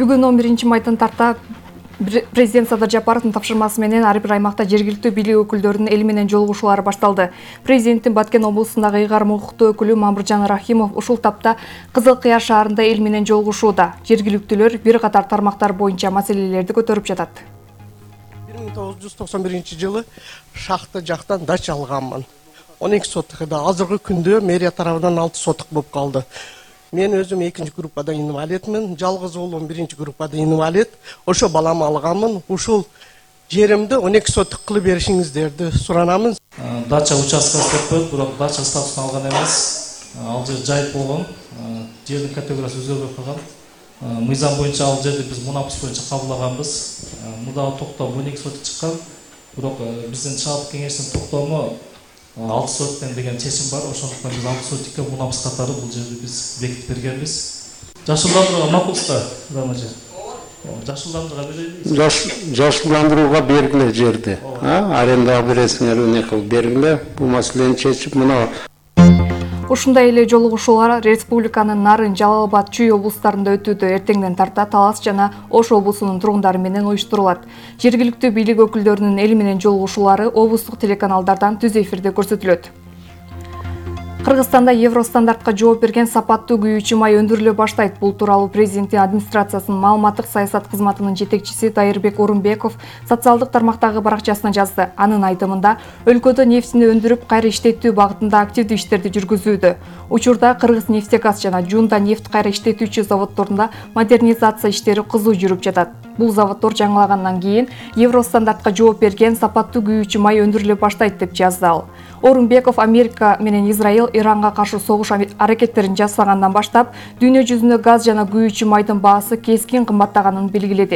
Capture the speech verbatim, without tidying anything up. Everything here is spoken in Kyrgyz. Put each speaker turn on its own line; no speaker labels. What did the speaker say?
Бүгүн он биринчи майдан тарта Президент Садыр Жапаровдун тапшырмасы менен ар бир аймакта жергиликтүү бийлик өкүлдөрүнүн эл менен жолугушуулары башталды. Президенттин Баткен облусундагы ыйгарым укуктуу өкүлү Мамыржан Рахимов ушул тапта Кызыл Кыяр шаарында эл менен жолугушууда. Жергиликтүүлөр бир катар тармактар боюнча маселелерди көтөрүп жатат.
бир миң тогуз жүз токсон биринчи жылы шахта жактан дача алганмын. он эки соток эди. Азыркы күндө мэрия тарабынан алты соток болуп калды. Мен өзүм экинчи группада инвалидмин, жалгыз уулум биринчи группада инвалид. Ошо балам алганмын. Ушул жеримди он эки соток кылып беришиңиздерди суранамын.
Дача участкасы деп коет, бирок дача статусун алган эмес. Ал жер жайып болгон. Жердин категориясы өзгөрбөй калган. Мыйзам боюнча ал жерди биз мунапыс боюнча кабылдаганбыз. Мурдагы токтом он эки соток чыккан. Бирок биздин чалык кеңештин токтому алты соток деген чечим бар. Ошондуктан биз алты сотокко мунапыс катары бул жерди биз бекитип бергенбиз. Жашылдандырууга макулсузда, Рамажа. Жашылдандырууга берели.
Жашылдандырууга бергиле жерди. Арендага бересиңер, эмне кылып бергиле. Бул маселени чечип мына.
Ушундай эле жолугушуулар республиканын Нарын, Жалал абад, Чүй облустарында өтүүдө. Эртеңден тарта Талас жана Ош облусунун тургундары менен уюштурулат. Жергиликтүү бийлик өкүлдөрүнүн эл менен жолугушуулары облустук телеканалдардан түз эфирде көрсөтүлөт. Кыргызстанда Евростандартка жооп берген сапаттуу күйүүчү май өндүрүлө баштайт. Бул тууралуу президенттин администрациясынын маалыматтык саясат кызматынын жетекчиси Дайырбек Орунбеков социалдык тармактагы баракчасына жазды. Анын айтымында, өлкөдө нефтини өндүрүп кайра иштетүү багытында активдүү иштерди жүргүзүүдө. Учурда Кыргыз-Нефтегаз жана Жунда нефт кайра иштетүүчү заводдорунда модернизация иштери кызуу жүрүп жатат. Бул заводдор жаңылагандан кийин Евростандартка жооп берген сапаттуу күйүүчү май өндүрүлө баштайт деп жазды ал. Орунбеков Америка менен Израиль Иранга каршы согуш аракеттерин жасагандан баштап, дүйнө жүзүндө газ жана күйүүчү майдын баасы кескин кымбаттаганын белгиледи.